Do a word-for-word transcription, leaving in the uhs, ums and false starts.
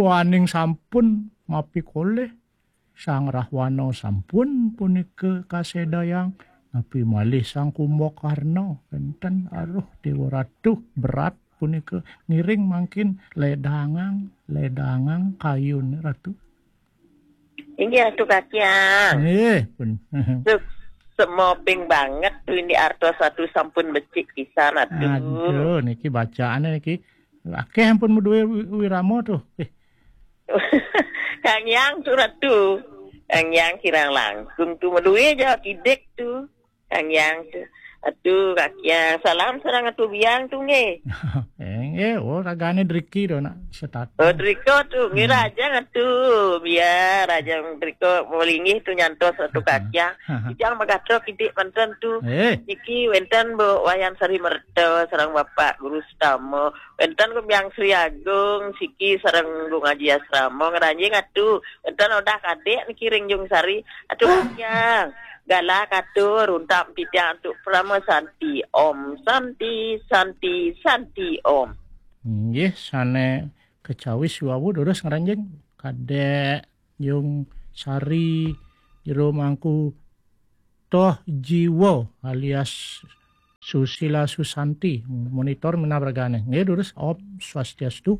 Waning sampun mapikolih, Sang Rahwana sampun punika kasedayang, napi malih Sang Kumbakarna wenten aruh Dewa Ratu berat punika ngiring mangkin ledangang, ledangang kayun Ratu. Inggih Ratu Kakyang. Nggih, pun. Suk semoping banget tuh ini artos Ratu sampun becik pisan Ratu. Aduh, niki bacaane niki akeh ampun meduwe wi- wirama tuh. Eh, Kang Yang tuh Ratu. Kang Yang kirang langkung tuh meduwe Jawa Kidik tuh. Kang Yang tuh. Aduh, Kakyang. Salam sareng Ratu Biang tuh nggih. eh, eh, oh ragane driki to nak setata. Oh, Driko tuh, nggih Rajang atuh. Biar Rajang Driko mau linggih tuh nyantos Ratu Kakyang. Kijang Magatro kidik manten tuh. Eh, Niki wenten Bu Wayan Sari Merta sareng Bapak Guru Sutama. Wenten Gung Biang Sri Agung, siki sareng Gung Aji Asrama ngranjing atuh. Wenten Odah Kadik niki ring Jung Sari. Atuh Kakyang. Galak atuh runtap titiang antuk Parama Santi. Om Santi, Santi, Santi Om. Nggih, sane kecawis wawu durus ngranjing Kadek Jung Sari Jero Mangku Toh Jiwa alias Susila Susanti, monitor minab ragane. Nggih, durus Om Swastiastu.